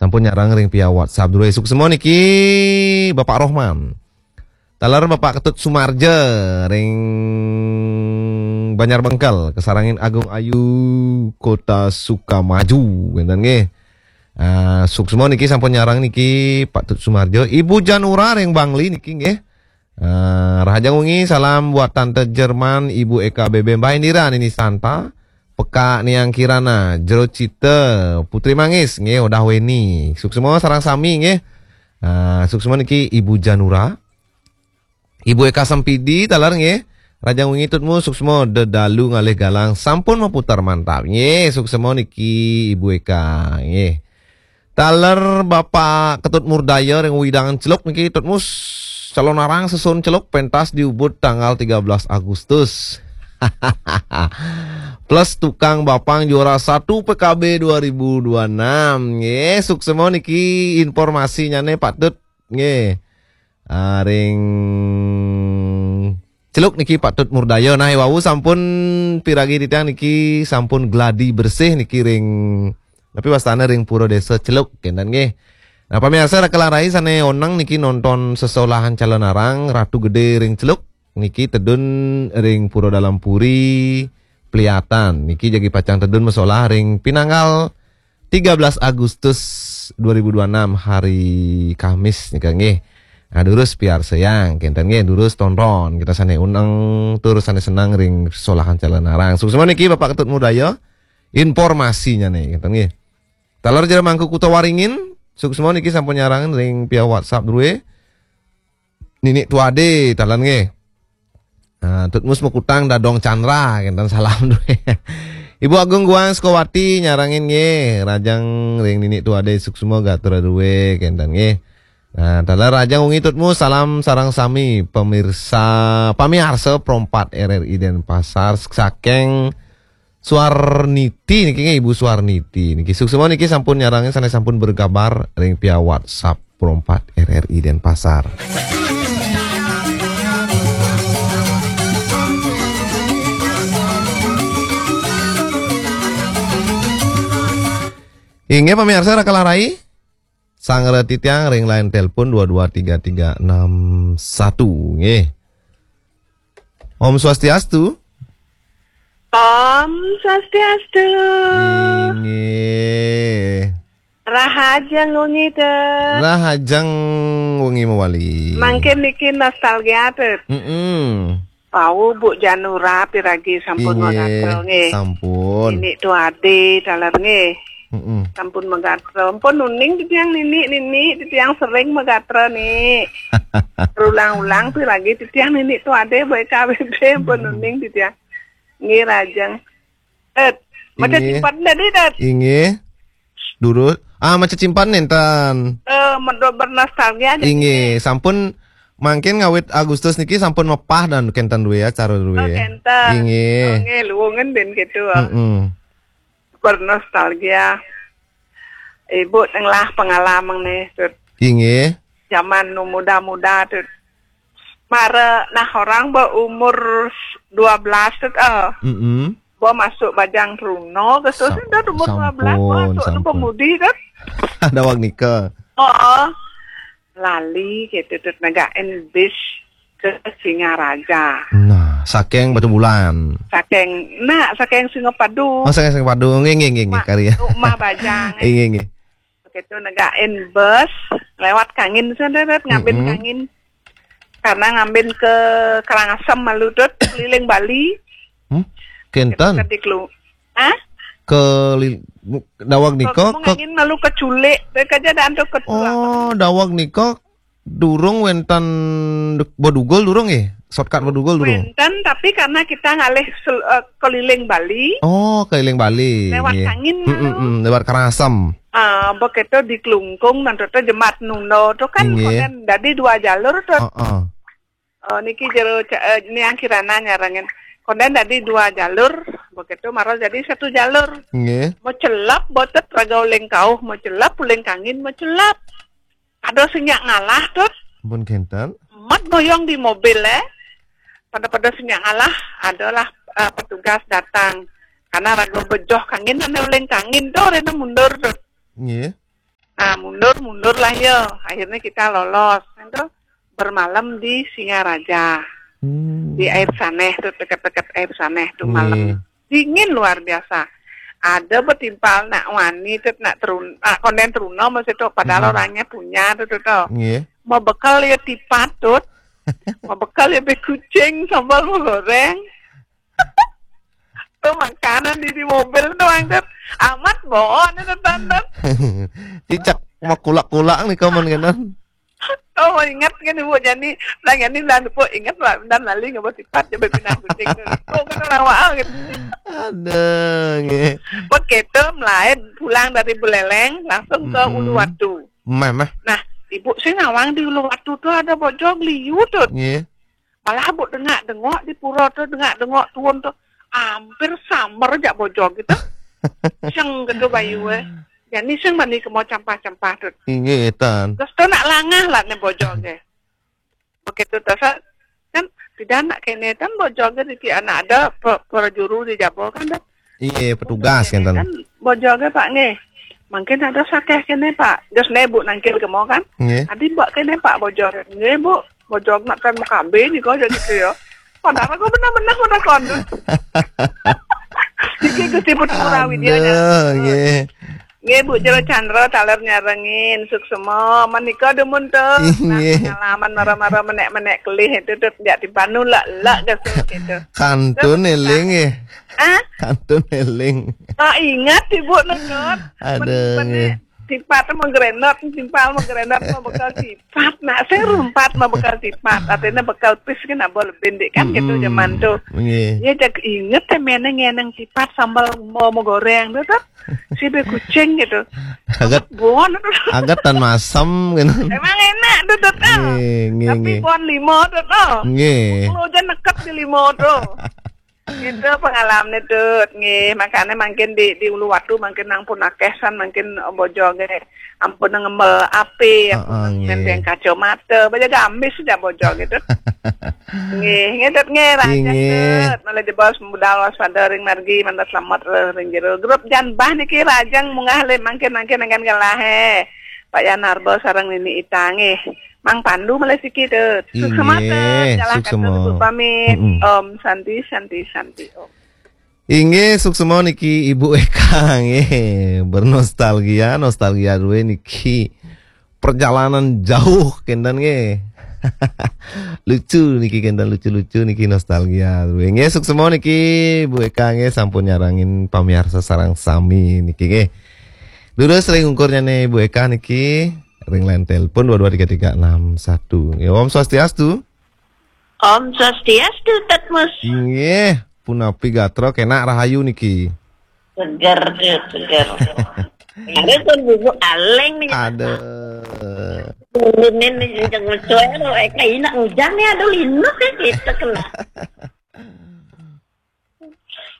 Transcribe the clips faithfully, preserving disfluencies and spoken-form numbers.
Sampun nyareng ring via WhatsApp dulu. Suksma niki Bapak Rohman. Taler Bapak Ketut Sumarja ring Banjar Bengkel, Kasarangin Agung Ayu, Kota Sukamaju, ngenten nggih. Ah, suksma niki sampun nyareng niki Pak Tut Sumarja, Ibu Janura ring Bangli niki nggih. Ah, rahajeng wengi, salam buat Tante Jerman, Ibu Eka B B, Mbah Indira, Nini Santa, Peka Niang Kirana, Jero Cita, Putri Manggis, nggih, Odah Weni. Suksma sareng sami nggih. Ah, suksma niki Ibu Janura. Ibu Eka Sempidi, taler nggih. Rahajeng wengi Tutmu, suksma dedalu ngalih galang sampun maputar mantap. Nggih, suksma niki Ibu Eka, nggih. Taler Bapak Ketut Murdaya ring Wewidangan Celuk niki, Tutmu, Calonarang Sesun Celuk pentas diubud tanggal tiga belas Agustus. Plus tukang bapang juara satu P K B dua ribu dua enam. Nggih, suksma niki informasinyane Pak Tut. Nggih. Ah, ring Celuk niki Pak Tut Murdaya. Nah, wau sampun piragi titiang niki sampun gladi bersih niki ring, tapi wastane ring Pura Desa Celuk, kenten nggih. Nah, pamirsa Raka Larai sane oneng niki nonton sesolahan Calonarang, Ratu Gede ring Celuk, niki tedun ring Pura Dalem Puri, Pliatan. Niki jagi pacang tedun masolah ring pinanggal tiga belas Agustus dua ribu dua enam, hari Kamis nika nggih. Nah, durus piarsayang, kenten nggih, durus tonton. Kita sane uneng tur sane senang ring solahan Calonarang. Suksma niki Bapak Ketut Murdaya. Informasinyane, kenten nggih. Taler Jero Mangku Kuta Waringin, suksma niki sampun nyarengin ring via WhatsApp dulu. Nini Tuade, taler nggih. Nah, Tutmus Mekutang Dadong Chandra, kenten salam dulu. Ibu Agung Guang Sukawati nyarengin nggih, rahajeng ring Nini Tuade suksma gatra dulu, kenten nggih. Nah, taler rahajeng wengi Tutmus, salam sareng sami pemirsa, pamiarsa Pro empat R R I Denpasar, saking Suarniti niki nggih, Ibu Suarniti niki. Suksma niki sampun nyarengin sane sampun bergabar ring via WhatsApp Pro empat R R I Denpasar. Inggih, pamirsa Raka Larai, sangra titiang ring line telepon dua dua tiga tiga enam satu nggih. Om Swastiastu. Om Swastiastu. Inggih. Rahajeng wengi, Tut. Rahajeng wengi mawali. Mangkin niki nostalgia, Tut. Mm-mm. Wau Bu Janura piragi sampun, inggih, magatra nggih. Sampun. Nini Tuade taler nggih. Mm-mm. Sampun magatra. Ampun uning titiang nini, nini titiang sering magatra ni. Berulang-ulang piragi titiang Nini Tuade, baik K B B, ampun uning titiang. Nggih, rahajeng. Eh, maca, inggih, cimpat tadi, Dad. Inggih. Durus. Ah, maca cimpat nenten. Eh, medo bernostalgia aja. Inggih, nggih. Sampun mangkin ngawit Agustus niki sampun mepah dan kenten duwe acara duwe. Oh, kenten. Inggih. Oh, nggih, luwungen ben gitu. Mm-mm. Bernostalgia. Ibu tenglah pengalaman nih, Tut. Inggih. Zaman nu muda-muda, Tut. Mara nah orang berumur dua belas, Tut, eh. Mm-mm. Bo masuk bajang truna, kesusun, Tut, umur dua belas, bo masuk nu pemudi, Tut. Daweg nika. Oh, lali gitu, Tut, negain bis ke Singaraja. Nah, saking Batubulan. Saking, nah, saking Singapadu. Oh, saking Singapadu. Nggih, nggih, nggih, nggih, karya. Rumah bajang. Nggih, nggih. Begitu negain bus, lewat Kangin, Tut, ngambil, mm-mm, Kangin. Karena ngambil ke Karangasem malu, Tut, keliling Bali. Hmm? Kenten? Ke Diklu-, ah? Ke li-, daweg nika, ke, ke Kangin malu ke Culik, mereka aja dan tuh ke Tulang. Oh, daweg nika durung wenten Bedugul durung nggih? Shortcut Bedugul durung? Wenten, tapi karena kita ngalih sel-, eh, keliling Bali. Oh, keliling Bali. Lewat, nggih, Kangin, mm, mm, malu, mm, lewat Karangasem. Ah, begitu di Klungkung, nanti tuh Jemat Nundo tuh kan, nggih, konden dadi dua jalur tuh. Heeh. Eh, niki jero ca-, eh, Niang Kirana nyarengin. Konden dadi dua jalur, begitu mara jadi satu jalur. Nggih. Mau celap, botet raga uling kauh, mau celap, uling Kangin, mau celap. Ada sing nyak ngalah, Tut. Ampun kenten. Mat boyong di mobil, eh. Pada-pada sing nyak ngalah, adalah, eh, petugas datang. Karena raga bejoh Kangin, ane uling Kangin, tuh, rena mundur, Tut. Nggih. Nah, mundur, mundur lah ya. Akhirnya kita lolos. Itu bermalam di Singaraja. Hmm. Di Air Saneh tuh, deket-deket Air Saneh tuh malam. Dingin luar biasa. Ada betimpal nak wani tuh, nak terun, nak konden teruna masih tuh, padahal orangnya punya tuh, tuh, tuh. Mau bekal ya tipat tuh. Mau bekal ya be kucing, sambal mau goreng. Tuh makanan di, di mobil tuh, Bang, tuh. Amat bohong itu, Tan, tuh. Cicak mau kulak-kulak nih kamu kan. Oh, ingat kan Ibu Jani? Lah, Jani lah, Ibu ingat lah, dan lali nggak mau tipat, coba pindah kucing tuh. Oh, kan orang wah gitu. Ada, nggih. Begitu mulai pulang dari Buleleng, langsung ke Uluwatu. Mah, mah. Nah, Ibu sih nawang di Uluwatu tuh ada bojog liu tuh. Nggih. Malah Bu dengak-dengok di pura tuh, dengak-dengok tuun tuh. Hampir samar jak bojog gitu. Seng gitu bayu, eh. Jani sing mani kemo campah-campah tuh. Inggih, Tan. Terus tuh nak langah lah nih bojog, eh. Begitu tuh, sa-, kan tidak nak kene kan bojog di ti anak ada pe-, perjuru di Jabo kan, dah. Iya, petugas kan, Tan. Kan bojog, Pak, nggih. Mungkin ada sakeh kene, Pak. Terus nih Bu nangkil kemo kan. Nggih. Adi Mbak kene, Pak, bojog. Nggih, Bu. Bojog nak kan makabe nih kok jadi gitu ya. Padahal kok benar-benar udah kondus. Iki Gusti Putu Ngurah Widya. Aduh, nggih. Nggih, Bu Jero Chandra, taler nyarengin, suksema. Menika dumun tuh. Nah, nggih. Pengalaman mara-mara menek-menek kelih itu tuh, jak timpanu lak-lak gitu, gitu. Kantun eling, nggih. Hah? Kantun eling. Oh, ingat, Ibu, nonton. Aduh, nggih. Tipat mau gerenot, timpal mau gerenot, mau bekal tipat. Nah, saya rumpat mau bekal tipat. Artinya bekal pis kan, nah, boleh bendik kan gitu zaman tuh. Nggih. Ya, jak inget ya, meneng, ngeneng tipat, sambal mau, mau goreng tuh, tuh. Si be kucing gitu. Agat, bon. Agat tan masem gitu. Emang enak tuh, tuh, tuh. Nggih, nggih, tapi nggih. Bon limo tuh, tuh. Nggih. Kalau aja nekep di limo tuh. Itu pengalaman itu, nggih. Makanya mungkin di, di Uluwatu mungkin nang pun akeh san, mungkin bojog, nggih. Ampun ngembel api, ampun ngendeng kacamata, baja gamis sudah bojog gitu. Nggih, nggih, Dut, nggih, rajang, nggih. Dut. Malah jebos budal waspada ring margi, mantap selamat, eh, ring jero. Grup Janbah niki rajang munggah le mangkin-mangkin dengan gelah, eh. Pak Yanarbo sareng Nini Ita, nggih. Mang Pandu malah siki, Dut. Suksema, Dut. Inggih, jalah suksema. Kata, Dut, pamit. Mm-mm. Om Santi, Santi, Santi, Om. Inggih, suksema niki Ibu Eka, nggih. Bernostalgia, nostalgia duwe niki. Perjalanan jauh, kenten, nggih. Lucu niki, kenten lucu-lucu niki, nostalgia duwe. Nggih, suksema niki Ibu Eka, nggih, sampun nyarengin pamiarsa sareng sami niki, nggih. Durus ring ungkurnya nih Ibu Eka niki, ring line telepon dua dua tiga tiga enam satu. Nggih, Om Swastiastu. Om Swastiastu, Tatmus. Inggih, punapi gatra, kenak rahayu niki. Seger, seger. Ada tuh bubu aleng nih. Aduh. Ini nih, kenceng mecoy, lo, eh, kayak enak hujan nih, aduh, linuk ya, gitu, kena.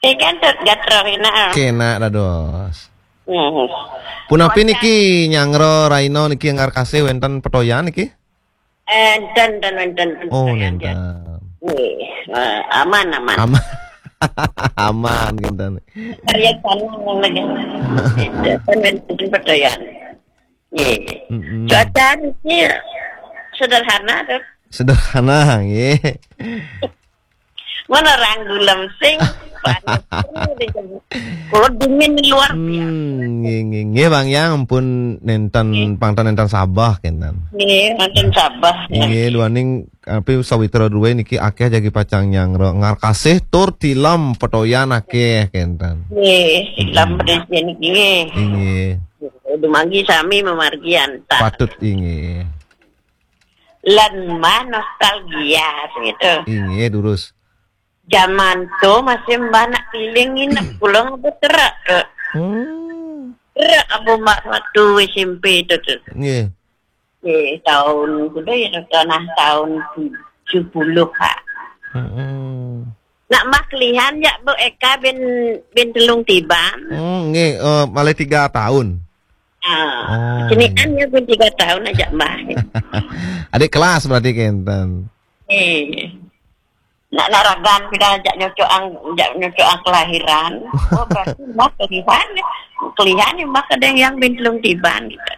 Eh, kan, Dut, gatra, enak. Kenak dados. Hmm. Punapi niki nyangro raina niki engkar kasih wenten petoyan niki? Enten, enten, enten. Oh, enten. Nggih, eh, aman, aman. Aman. Aman, kinten. Karya sana yang lagi. Enten, enten, petoyan. Nggih. Mm-mm. Cuaca niki sederhana, Dut. Sederhana, nggih. Mana orang gulem sing panas. Kalau dingin luar biasa. Hmm, nggih, nggih, nggih, Bang Yang, ampun nenten, pangtan nenten sabah, kenten. Nggih, nenten sabah. Nggih, duaning, tapi sawitra duwe niki akeh jagi pacang nyangro. Engkar kasih tur tilem petoyan akeh, kenten. Nggih, tilem petoyan niki, nggih. Inggih. Dumargi sami mamargi antar. Patut, inggih. Lan mah nostalgia gitu. Inggih, durus. Zaman tuh masih mbah nak keliling nginep, pulang apa terak ke. Hmm. Terak apa mbak waktu S M P itu tuh. Nggih. Di tahun, kuda ya, nah, tahun tujuh puluh, Kak. Hmm. Nak mbah kelihan ya, Bu Eka bin, bin Telung Tiban. Hmm, nggih, eh, malah tiga tahun. Ah, oh. Senian ya, bin tiga tahun aja, Mbah. Adik kelas berarti kenten. Eh. Nak naragan pida jak nyocok ang, jak nyocok ang kelahiran. Oh, berarti mbah kelihan, kelihan ya mbah kadang yang bin Telung Tiban gitu.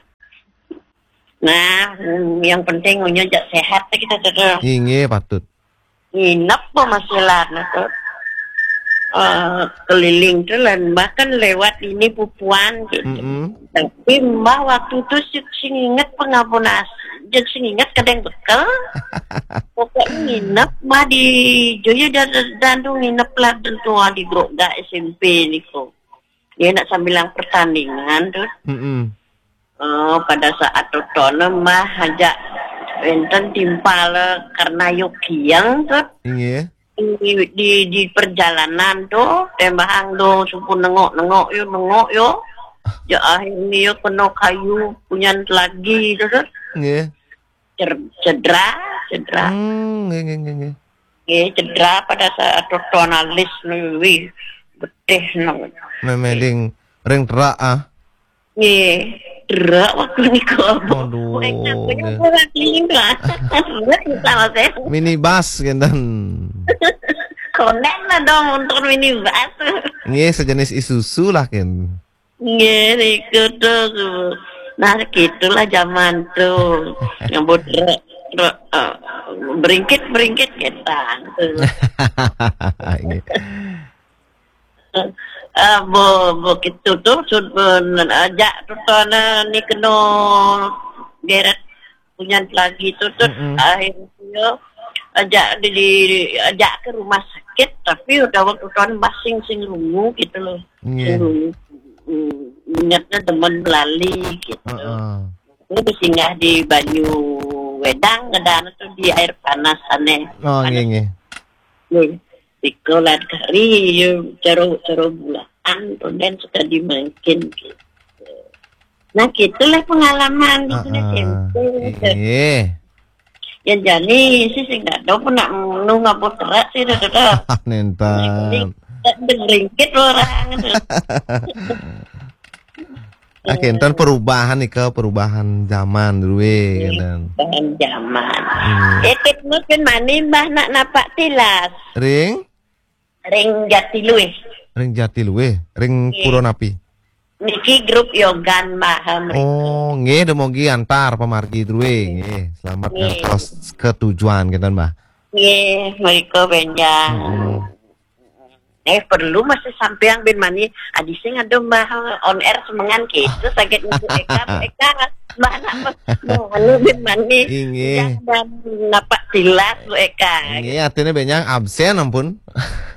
Nah, yang penting ngunyah jak sehat kita tu. Inggih, patut. Nginep apa masih lah tu. Eh, keliling tu lah, bahkan lewat ini pupuan gitu. Mm-mm. Tapi mbah waktu tu sing ingat pengabun nasi, jadi sing ingat kadang bekel. Pokoknya nginep mbah di Joyo dan, dan tu nginep lah tentu di Grogak S M P niku. Dia nak sambilang pertandingan tu. Mm-mm. Oh, pada saat totoné mah ajak wénten timpal karena yokiang tu. Inggih. Di, di, di perjalanan tu, tembahang tu suku nengok-nengok yo, nengok yo. Ya akhirnya yo kena kayu punyan lagi tu tu. Nggih. Cer-, cedera, cedera. Hmm, nggih, nggih, nggih, nggih. Nggih, cedera pada saat totoné alis nu, wih, getih nu. Memang ring, ring terak ah. Nggih, terak waktu niku. Aduh, nggih. Terak kita, Mas, ya. Minibus kinten. Konek lah dong untuk minibus. Nggih, sejenis Isuzu lah kin. Nggih, niku tuh. Nah, gitulah zaman tuh. Nyebut re-, re-, eh, beringkit-beringkit kita tuh. Nggih. Eh, bo, bo gitu tuh, sud-, eh, ajak tuh, tuh, nah, ni kena geret punyan lagi tu tu. Mm-mm. Akhirnya ajak di, di, ajak ke rumah sakit, tapi udah waktu tuan basing sing rungu gitu loh. Nggih. Sing rungu. Hmm, ingatnya demen belali gitu. Heeh. Ini singgah di banyu wedang, ada tu di air panas aneh. Oh, panas. Nggih, nggih. Nggih. Sekolah hari, yo, caro, caro bulaan, kemudian suka dimakin gitu. Nah, gitulah pengalaman di sini. Ah, ah, tempo. Iya. Ya, jadi sih, sih nggak tahu pun nak nunggu apa terak sih, dah, dah, dah. Nenten. Ringkit orang. Oke, enten perubahan nih, ke perubahan zaman dulu, eh, iya, kan. Perubahan zaman. Hmm. Eh, Tut Mus bin Mani, Mbah nak napak tilas. Ring? Ring Jatiluwih. Ring Jatiluwih, ring, iya, pura napi? Niki grup Yogan Maha mriki. Oh, nggih, dumugi antar pamargi druwe, nggih. Selamat, nggih, ngantos ke tujuan kinten, Mbah. Nggih, mriko benjang. Mm-mm. Eh, perlu masih sampeang bin Mani, adi sing ada Mbah on air semengan gitu, sakit Bu Eka, Bu Eka, Mbah nak, Mbah anu bin Mani. Inggih. Jangan napak tilas, Bu Eka. Inggih, artinya benjang absen ampun.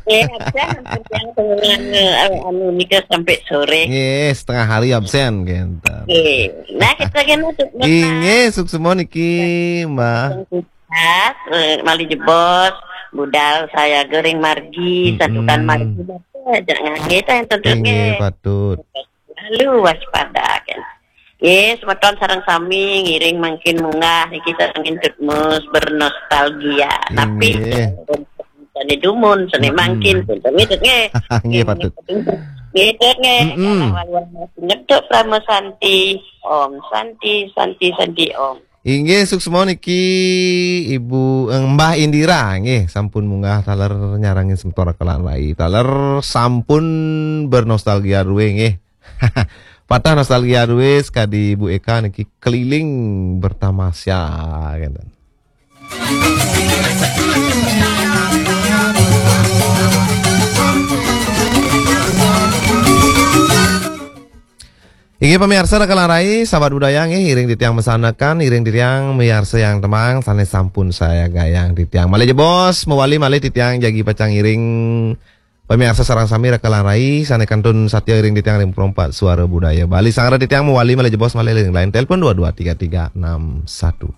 Nggih, absen sampai siang, tengah, eh, anu, nika sampai sore. Nggih, setengah hari absen, gitu. Nggih. Nah, kita kan untuk Inggih, suksma niki, Mbah. Sukses, eh, malih jebos, budal sayaga ring margi, mm-mm, santukan margi, aja ngangge, tah, yang tentu, inggih, nggih, patut. Lalu waspada, kan. Nggih, semeton sareng sami ngiring mangkin munggah niki sareng Tut Mus bernostalgia. Napi? Inggih. Sane dumun, sane, mm-mm, mangkin, punten nggih, Tut, nggih. Nggih, patut. Nggih, Tut, nggih. Mm-mm. Kalah waluan ngeduk Parama Santi. Om Santi, Santi, Santi, Om. Inggih, suksma niki Ibu, eh, Mbah Indira, nggih, sampun munggah taler nyarengin semeton Raka Lan Rai. Taler sampun bernostalgia druwe, nggih. Patah nostalgia druwe, sekadi Bu Eka niki keliling bertamasya, gitu. Inggih pamiarsa Raka Lan Rai, sahabat budaya nggih, iring titiang masanekan, iring titiang miarsa yang temang, sane sampun sayagayang titiang. Malih jebos, mawali malih titiang jagi pacang iring pamiarsa sareng sami Raka Lan Rai, sane kantun satia iring titiang ring Pro empat Suara Budaya Bali. Sanggra titiang mawali malih jebos malih ring line telepon dua dua tiga tiga enam satu.